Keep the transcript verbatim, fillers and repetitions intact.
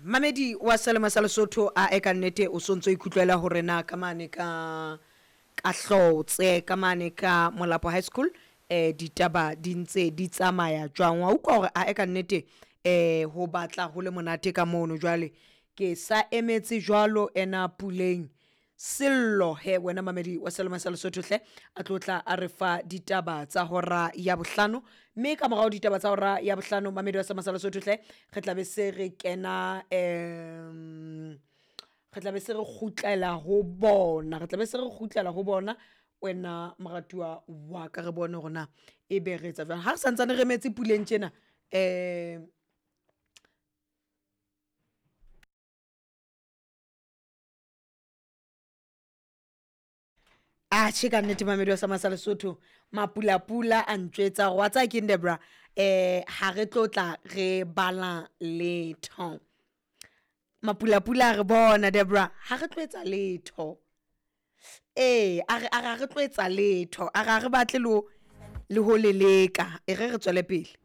Mamedi wa Selemo sa Lesotho, a e ka nnete o sontso ikutlwela hore na ka mane ka ka Hlotse, ka mane ka Molapo High School, eh ditaba di ntse di tsamaya jwang. Wa utlwa hore a e ka nnete eh ho batla ho le monate ka mono. Jwale ke sa emetse jwalo ena Puleng Sello he wena mamedi wa Selemo sa Lesotho hle a tlo tla a re fa ditaba tsa hora ya bohlano, mme ka morao ditaba tsa hora ya bohlano mamedi wa Selemo sa Lesotho hle re tla be se re kena um re tla be se re kgutlela ho bona, re tla be se re kgutlela ho bona wena moratuwa wa ka, re bone hore na e be re etsa jwang ha re santsane re emetse Puleng tjena. Um atjhe ka nnete mamedi wa Sama sa Lesotho, mapulapula a ntjwetsa gore wa tsaya keng Debra, um ha re tlo tla re bala letho. Mapulapula a re bona Debra, ha re tlo etsa letho. Ee, a re a re ha re tlo etsa letho, a re ha re batle le ho le ho le leka, e re re tswele pele.